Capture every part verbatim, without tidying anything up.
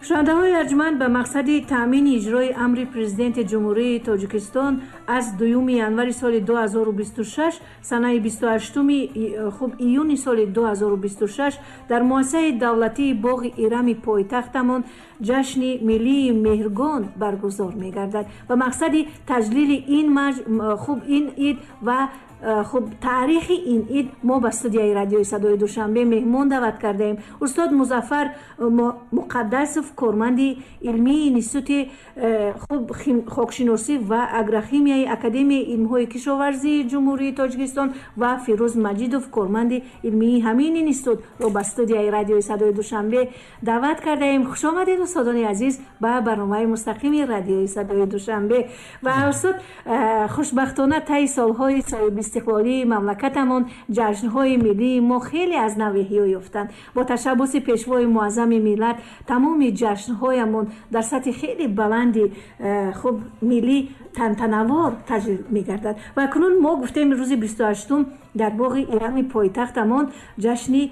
Шунавандаҳои арҷманд, ба мақсади таъмини иҷрои амри Президенти Ҷумҳурии Тоҷикистон аз дуюми январи соли ду ҳазору бисту шаш, санаи бисту ҳаштуми хуб июни соли ду ҳазору бисту шаш дар муассисаи давлатии боғи Ирами пойтахтамон ҷашни миллии Меҳргон баргузор мегардад. Ба мақсади таҷлили ин хуб ин ид ва хуб таърихи ин ид мо ба студияи радиои Садои Душанбе меҳмон даъват кардаем. Устод Музаффар Муқаддасов, корманди илмии Институти хуб хокшиносӣ ва агрохимияи Академияи илмҳои кишоварзии Ҷумҳурии Тоҷикистон ва Фирӯз Маҷидов, корманди илмии ҳамин институтро ба студияи радиои Садои Душанбе даъват кардаем. Хуш омадед, устодони азиз, ба барномаи мустақими радиои Садои Душанбе. Ва устод, хушбахтона таи солҳои соҳибистиқлолии мамлакатамон ҷашнҳои миллии мо хеле аз нав эҳё ёфтанд. Бо ташаббуси Пешвои муаззами миллат тамоми ҷашнҳоямон дар сатҳи хеле баланди хуб миллӣ тантанавор таҷлил мегардад. Ва акнун мо гуфтем, рӯзи бисту ҳаштум дар боғи Ирами пойтахтамон ҷашни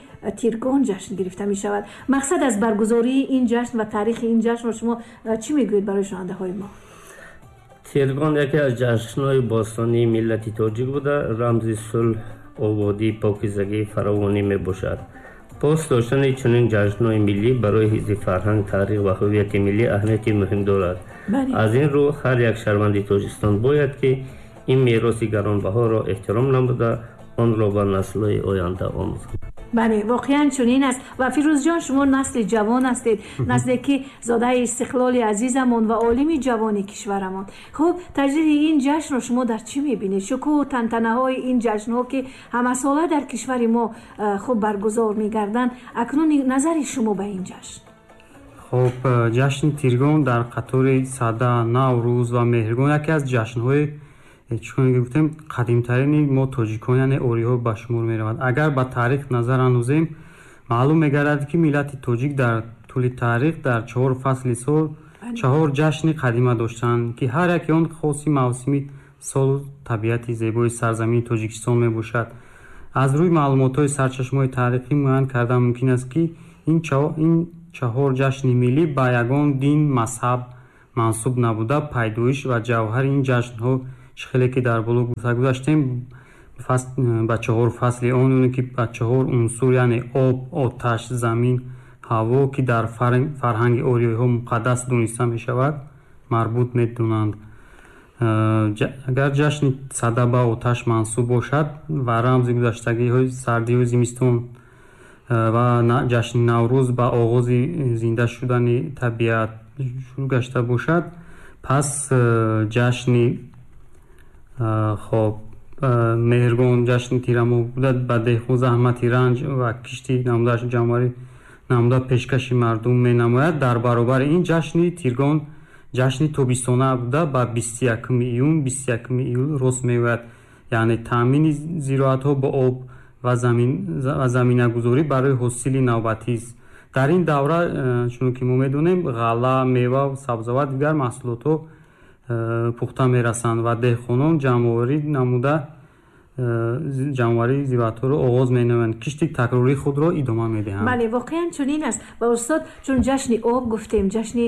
Тиргон ҷашн гирифта мешавад. Мақсад аз баргузории ин ҷашн ва таърихи ин ҷашнро шумо чӣ мегӯед барои шунавандаҳои мо? Тиргон яке аз ҷашнҳои бостонии миллати тоҷик буда, рамзи сулҳ, ободӣ, покизагӣ, фаровонӣ мебошад. Пос доштани чунин ҷашнҳои миллӣ барои ҳифзи фарҳанг, таърих ва ҳувияти миллӣ аҳамияти муҳим дорад. Аз ин рӯ ҳар як шаҳрванди Тоҷикистон бояд ки ин мероси гаронбаҳоро эҳтиром намуда, онро ба наслҳои оянда омӯзад. Бале, воқеан чунин аст. Ва Фирӯзҷон, шумо насли ҷавон ҳастед, насле ки зодаи истиқлоли азизамон ва олими ҷавони кишварамон. Хуб, таҷлили ин ҷашнро шумо дар чӣ мебинед? Шукӯҳу тантанаҳои ин ҷашнҳо ки ҳамасола дар кишвари мо хуб баргузор мегарданд, акнун назари шумо ба ин ҷашн? Хуб, ҷашни Тиргон дар қатори Сада, Наврӯз ва Меҳргон яке аз ҷашнҳои, чун гуфтем, қадимтарини мо тоҷикон, яъне ориҳо ба шумор меравад. Агар ба таърих назар андозем, маълум мегардад, ки миллати тоҷик дар тӯли таърих дар чаҳор фасли сол чаҳор ҷашни қадима доштанд, ки ҳар яке он хоси мавсими солу табиати зебои сарзамини Тоҷикистон мебошад. Аз рӯи маълумотҳои сарчашмаҳои таърихӣ муайян кардан мумкин аст, ки ин чаҳор ҷашни миллӣ ба ягон дин, мазҳаб мансуб набуда, пайдоиш ва ҷавҳари ин ҷашнҳо, хеле ки дар боло гуфта гузаштем, ба чаҳор фасли он, ки ба чаҳор унсур, яъне об, оташ, замин, ҳаво, ки дар фарҳанги ориёиҳо муқаддас дониста мешавад, марбут медонанд. Агар ҷашни Сада ба оташ мансуб бошад ва рамзи гузаштагиҳои сардиҳои зимистон ва ҷашни Наврӯз ба оғози зинда шудани табиат шурӯъ гашта бошад, пас ҷашни хоб Меҳргон, ҷашни тирамоҳ буда, ба деҳқон заҳмати ранҷ ва кишти намудааш ҷамъоварӣ намуда пешкаши мардум менамояд. Дар баробари ин ҷашни Тиргон ҷашни тобистона буда, ба бисту якуми июн, бисту якуми июл рост меояд, яъне таъмини зироатҳо бо об ва заминагузорӣ барои ҳосили навбатист. Дар ин давра, чун ки мо медонем, ғалла, мева, сабзавот, дигар маҳсулотҳо пухта мерасанд ва деҳқонон ҷамъоварӣ намуда ҷамъоварии зироатҳоро оғоз менамоянд, кишти такрории худро идома медиҳанд. Бале, воқеан чунин аст. Ва устод, чун ҷашни об гуфтем, ҷашни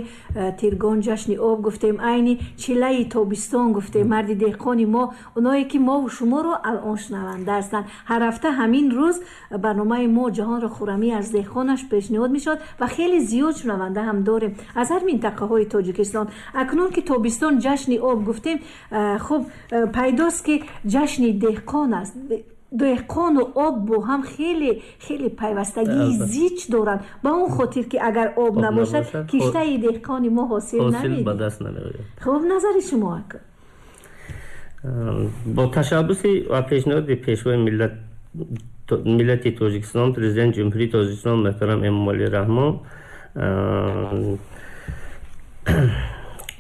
Тиргон, ҷашни об гуфтем, айни чилаи тобистон гуфтем, марди деҳқони мо, оное ки мову шуморо алон шунаванда ҳастанд, ҳар ҳафта ҳамин рӯз барномаи мо Ҷаҳонро хуррамӣ аз деҳқонаш пешниҳод мешавад ва хеле зиёд шунаванда ҳам дорем аз ҳар минтақаҳои Тоҷикистон. Акнун ки тобистон, ҷашни об гуфтем, хуб пайдост ки ҷашни деҳқон аст. Деҳқону об бо ҳам хеле хеле пайвастагии зич доранд, ба он хотир ки агар об набошад, киштаи деҳқони мо ҳосил намедиҳад. Хуб, назари шумо ака? Бо ташаббуси ва пешниҳоди Пешвои миллат миллати Тоҷикистон, Президенти Ҷумҳурии Тоҷикистон муҳтарам Эмомалӣ Раҳмон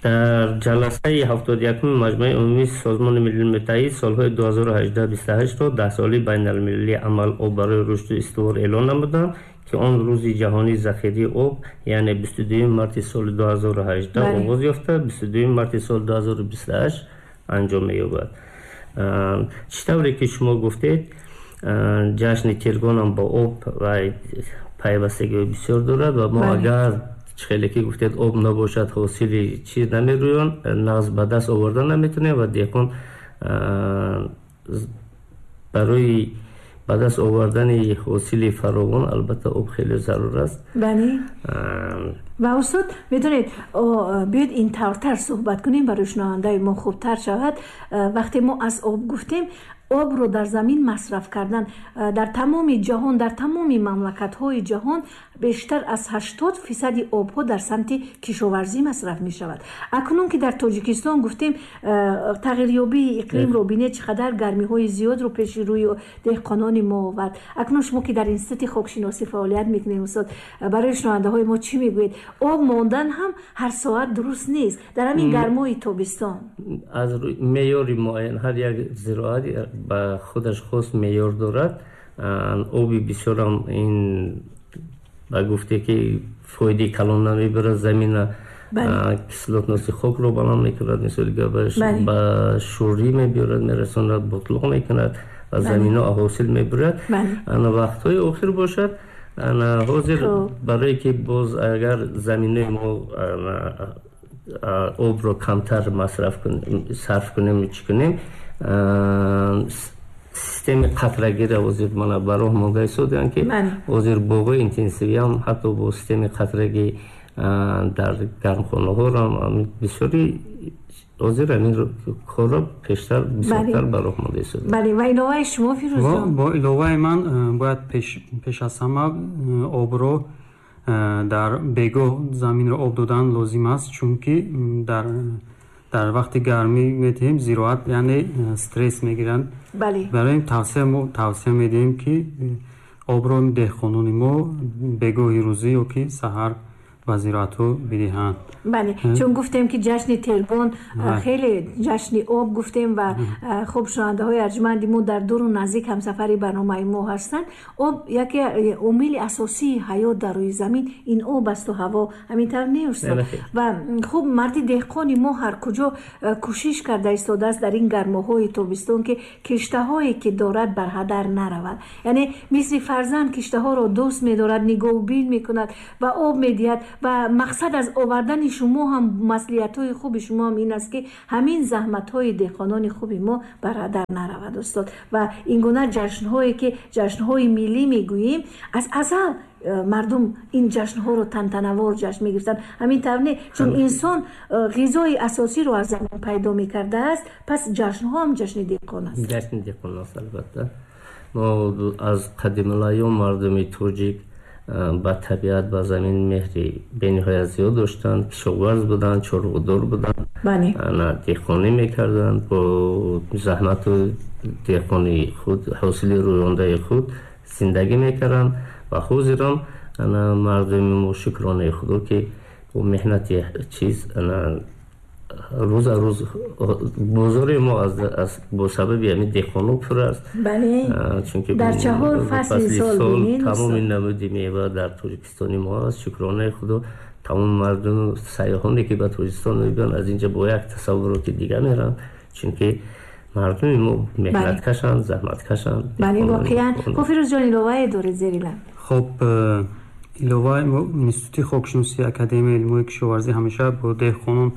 дар ҷаласаи ҳафтоду якуми Маҷмаи умумии Созмони Милали Муттаҳид солҳои ду ҳазору ҳаждаҳ бисту ҳаштро даҳсолаи байналмилалии амал об барои рушду истивор эълон намуданд, ки он рӯзи ҷаҳонии захираи об, яъне бисту дуюми марти соли ду ҳазору ҳаждаҳ оғоз ёфта, бисту дуюми марти соли ду ҳазору бисту ҳашт анҷом меёбад. Чӣ тавре ки шумо гуфтед, ҷашни Тиргонам бо об ва пайвастагиҳои бисёр дорад ва мо агар Хеле ки гуфтед, об набошад, ҳосили чиз намерӯянд, нағз ба даст оварда наметавонем ва деҳқон барои ба даст овардани ҳосили фаровон албатта об хеле зарур аст. Бале. Ва устод, медонед, биёед ин тавртар суҳбат кунем, барои шунавандаи мо хубтар шавад. Вақте мо аз об гуфтем, обро дар замин масраф кардан дар тамоми ҷаҳон, дар тамоми мамлакатҳои ҷаҳон бештар аз ҳаштод фисади обҳо дар самти кишоварзӣ масраф мешавад. Акнун ки дар Тоҷикистон гуфтем, тағйирёбии иқлимро бинед, чӣ қадар гармиҳои зиёдро пеши рӯи деҳқонони мо овард. Акнун шумо ки дар институти хокшиносӣ фаъолият мекунед, устод, барои шунавандаҳои мо чӣ мегӯед? Об мондан ҳам ҳар соат дуруст нест дар ҳамин гармои тобистон. Аз меъёри муайян ҳар як зироат ба худаш хос меъёр дорад. Оби бисёрам ин ба гуфте ки фоидаи калон намебарад, замина кислотности хокро баланд мекунад, мисоли гапаш ба шӯрӣ мебиёрад, мерасонад, ботлоқ мекунад ва замино ҳосил мебурад. Ана вақтҳои охир бошад, ана ҳозир барое ки боз агар заминои мо обро камтар масраф сарф кунем, чӣ кунем, системи қатрагиро ҳозир мана ба роҳ монда истодаанд, ки ҳозир боғҳои интенсивиам ҳатто бо системи қатрагӣ дар гармхонаҳоро бисёри ҳозир ҳамин корро пештар бисёртар ба роҳ монда истодаанд. Бале, ва иловаи шумо, Фирӯзҷон? Бо иловаи ман бояд пеш аз ҳама обро дар бегоҳ заминро об додан лозим аст, чунки дар дар вақти гармӣ медиҳем, зироат яъне стресс мегиранд. Барои ин тавсия мо тавсия медиҳем, ки обро деҳқонони мо бегоҳи рӯзӣ ё ки саҳар ба зироатҳо бидиҳанд. Бале, чун гуфтем ки ҷашни Тиргон хеле ҷашни об гуфтем ва хуб, шунавандаҳои арҷманди мо дар дуру наздик ҳамсафари барномаи мо ҳастанд. Об яке омили асосии ҳаёт дар рӯи замин ин об асту ҳаво, ҳамин тавр не, устод? Ва хуб, марди деҳқони мо ҳар куҷо кӯшиш карда истодааст дар ин гармоҳои тобистон, ки киштаҳое ки дорад бар ҳадар наравад, яъне мисли фарзанд киштаҳоро дӯст медорад, нигоҳубин мекунад ва об медиҳад. Ва мақсад аз овардани шумо ҳам, маслиҳатҳои хуби шумо ҳам ин аст, ки ҳамин заҳматҳои деҳқонони хуби мо бар ҳадар наравад, устод. Ва ин гуна ҷашнҳое ки ҷашнҳои миллӣ мегӯем, аз азал мардум ин ҷашнҳоро тантанавор ҷашн мегирифтанд, ҳамин тавр не? Чун инсон ғизои асосиро аз замин пайдо мекардааст, пас ҷашнҳо ҳам ҷашни деҳқон аст. Ҷашни деҳқон аст, албатта. Мо аз қадимулайём мардуми тоҷик ба табиат, ба замин меҳри бениҳоят зиёд доштанд, кишоварз буданд, чорводор буданд, деҳқонӣ мекарданд, бо заҳмату деҳқони худ ҳосили рӯёндаи худ зиндагӣ мекарданд. Ва ҳозирам мардуми мо, шукронаи худо, ки бо меҳнати чиз рӯз аз рӯз бозори мо бо сабаби ҳамин деҳқоно пур аст. Чунки дар чаҳор фасли сол тамоми намуди мева дар Тоҷикистони мо аст. Шукронаи худо, тамоми мардуму сайёҳоне ки ба Тоҷикистон мебиёнд, аз инҷа бо як тасаввуроти дига мераванд, чунки мардуми мо меҳнаткашанд, заҳматкашанд. Бале, воқеан. Хуб, Фирӯзҷон, иловае доред зери лаб? Хуб, иловаи мо, Институти хокшиносии Академияи илмҳои кишоварзӣ ҳамеша бо деҳқонон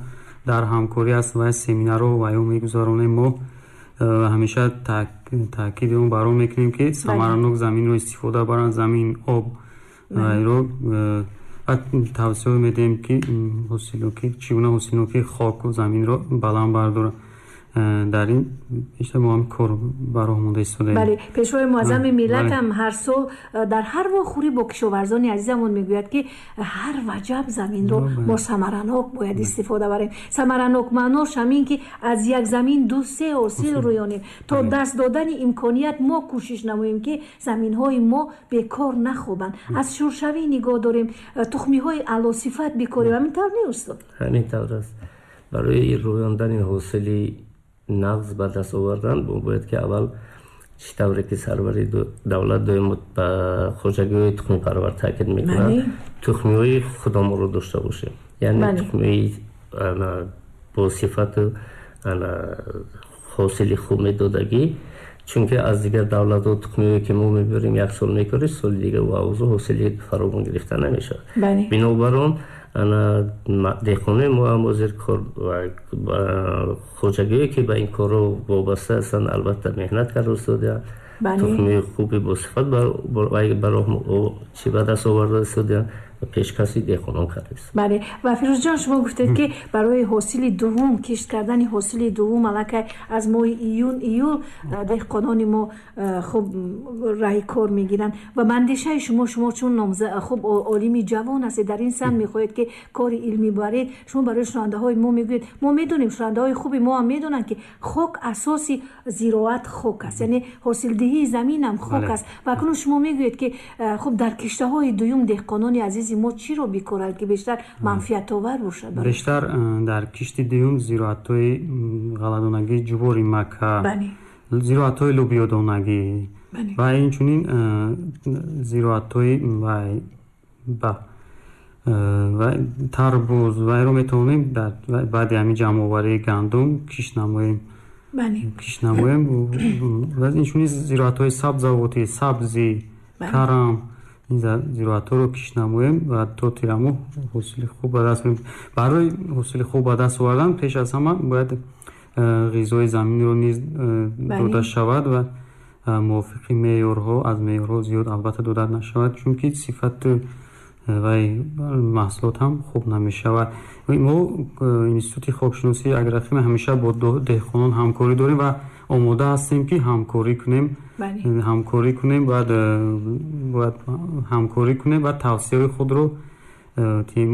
дар ҳамкорӣ аст ва семинарҳо ва ё мегузаронем. Мо ҳамеша таъкиди он баро мекунем, ки самаранок заминро истифода баранд, замин, об ро, ва тавсия медиҳем, ки ҳосилнокӣ, чӣ гуна ҳосилнокии хоку заминро баланд бардоранд. Дар ин бештар мо ҳам кор ба роҳ монда истодаем. Бале, Пешвои муаззами миллат ҳам ҳар сол дар ҳар вохӯрӣ бо кишоварзони азизамон мегӯяд, ки ҳар ваҷаб заминро мо самаранок бояд истифода барем. Самаранок маънош ҳамин, ки аз як замин ду се ҳосил рӯёнем. То даст додани имконият мо кӯшиш намоем, ки заминҳои мо бекор нахобанд, аз шуршавӣ нигоҳ дорем, тухмиҳои аълосифат бикорем. Ҳамин тавр не, устод? Ҳамин тавр аст. Барои рӯёндани ҳосили нағз ба даст овардан мо бояд ки аввал, чӣ тавре ки сарвари давлат доимо ба хоҷагиҳои тухмипарвар таъкид мекунад, тухмиҳои худамонро дошта бошем, яъне тухмиҳои бо сифату ҳосили хуб медодагӣ, чунки аз дигар давлатҳо тухмиҳое ки мо мебарем, як сол мекорем, соли дигар ва авзо ҳосили фаровон гирифта намешавад. Бинобар он Деҳқонои мо ҳам ҳозир кор хоҷагие ки ба ин корро вобаста ҳастанд, албатта меҳнат карда истодаанд, тухмии хуби босифат барои чӣ ба даст оварда истодаанд ва пешкаши деҳқонон карда истодаанд. Бале, ва Фирӯзҷон, шумо гуфтед ки барои ҳосили дуввум, кишт кардани ҳосили дуввум аллакай аз моҳи июн июл деҳқонони мо хуб раҳи кор мегиранд ва ба андешаи шумо, шумо чун хуб олими ҷавон ҳастед, дар ин самт мехоҳед ки кори илмӣ баред, шумо барои шунавандаҳои мо мегӯед, мо медонем, шунавандаҳои хуби мо ҳам медонанд ки хок асоси зироат хок аст, яъне ҳосилдиҳии замин ҳам хок аст. Ва акнун шумо мегӯед ки хуб дар киштаҳои дуюм деҳқонони азизи мо чиро бикоранд ки бештар манфиатовар бошад? Бештар дар кишти дуюм зироатҳои ғалладонагӣ, ҷувори мака, зироатҳои лӯбиёдонагӣ ва инчунин зироатҳои тарбуз вайро метавонем баъди ҳамин ҷамъоварии гандум кишт намоем. Кишт намоем. Ва инчунин зироатҳои сабзавотӣ, сабзӣ, карам, ин зироатҳоро кишт намоем ва то тирамоҳ ҳосили хуб ба даст меорем. Барои ҳосили хуб ба даст овардан пеш аз ҳама бояд ғизои заминро низ дода шавад ва мувофиқи меъёрҳо, аз меъёрҳо зиёд албатта дода нашавад, чунки сифату вай маҳсулот ҳам хуб намешавад. Мо институти хокшиносии агрохимия ҳамеша бо деҳқонон ҳамкорӣ дорем ва омода ҳастем ки ҳамкорӣ кунем, ҳамкорӣ кунем, бояд бояд ҳамкорӣ кунем ва тавсияҳои худро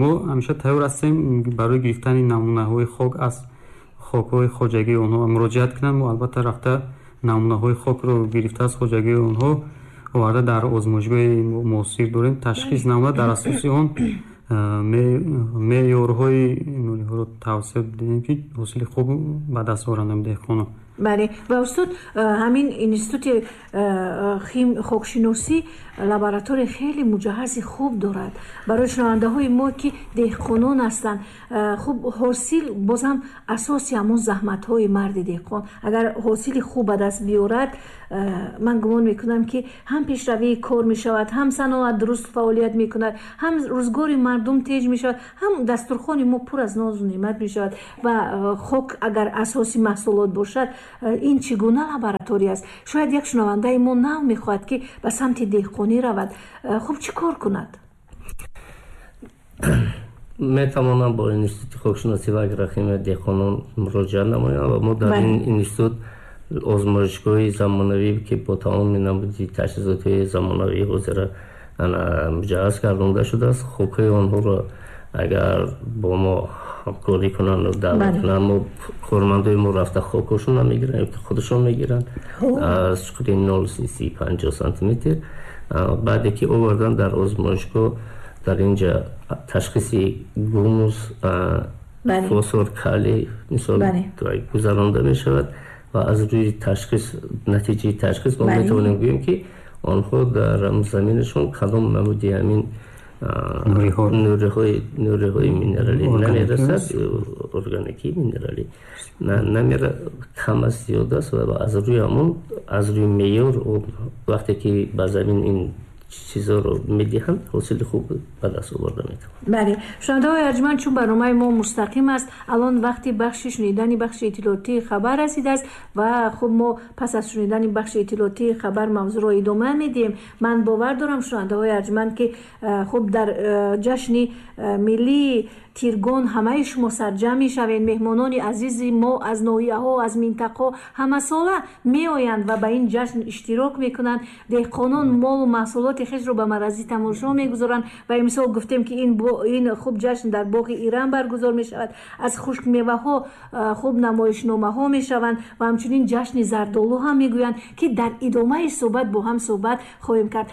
мо ҳамеша тайёр ҳастем барои гирифтани намунаҳои хок аз хокҳои хоҷагии онҳо муроҷиат кунанд. Мо албатта рафта намунаҳои хокро гирифта аз хоҷагии онҳо оварда дар озмоишгоҳи муосир дорем, ташхис намуда дар асоси он меъёрҳои нуриҳоро тавсия диҳем ки ҳосили хуб ба даст оваранд деҳқонон. Бале, ва устод, ҳамин институти хокшиносӣ лаборатория хеле муҷаҳҳази хуб дорад барои шунавандаҳои мо ки деҳқонон ҳастанд. Хуб, ҳосил бозам асоси ҳамон заҳматҳои марди деҳқон, агар ҳосили хуб ба даст биёрад, ман гумон мекунам ки ҳам пешравии кор мешавад, ҳам саноат дуруст фаъолият мекунад, ҳам рӯзгори мардум теҷ мешавад, ҳам дастурхони мо пур аз нозу неъмат мешавад. Ва хок агар асоси маҳсулот бошад, ин чӣ гуна лаборатория аст? Шояд як шунавандаи мо нав мехоҳад ки ба самти деҳқонӣ равад, хуб чӣ кор кунад? Метавонам бо институти хокшиносӣ ва агрохимия деҳқонон муроҷиат намоям ва мо дар ин институт озмоишгоҳи замонавӣ ки бо тамоми намуди таҷҳизоти замонавии ҳозира муҷаҳҳаз гардонда шудааст, хокҳои онҳоро агар бо мо ҳамкорӣ кунанд, даъват кунанд, мо кормандои мо рафта хокҳошонро мегиранд ё ки худашон мегиранд аз чуқури нол си панҷоҳ сантиметр. Баъде ки овардан дар озмоишгоҳ дар инҷа ташхиси гумус, фосфор, калий мисол гузаронда мешавад ва аз рӯи ташхис, натиҷаи ташхис мо метавонем гӯем ки онҳо дар заминашон кадом намуди ҳамин нуриҳои нуриҳои минералӣ намерасад, органикӣ минералӣ намера, кам аст, зиёд аст ва аз рӯи ҳамон, аз рӯи меъёр вақте ки ба замин ин чизҳоро медиҳанд, ҳосили хуб ба даст оварда метавонанд. Бале, шунавандаҳои арҷманд, чун барномаи мо мустақим аст, алон вақти бахши шунидани бахши иттилоотии хабар расидааст ва хуб мо пас аз шунидани бахши иттилоотии хабар мавзӯъро идома медиҳем. Ман бовар дорам, шунавандаҳои арҷманд, ки хуб дар ҷашни миллии Тиргон ҳамаи шумо сарҷамъ мешавед. Меҳмонони азизи мо аз ноҳияҳо, аз минтақаҳо ҳамасола меоянд ва ба ин ҷашн иштирок мекунанд. Деҳқонон молу маҳсулоти хешро ба маразӣ тамошо мегузоранд ва имсол гуфтем ки ин, ин хуб ҷашн дар боғи Ирам баргузор мешавад. Аз хушкмеваҳо хуб намоишномаҳо мешаванд ва ҳамчунин ҷашни зардолу ҳам мегӯянд ки дар идомаи суҳбат бо ҳам суҳбат хоҳем кард.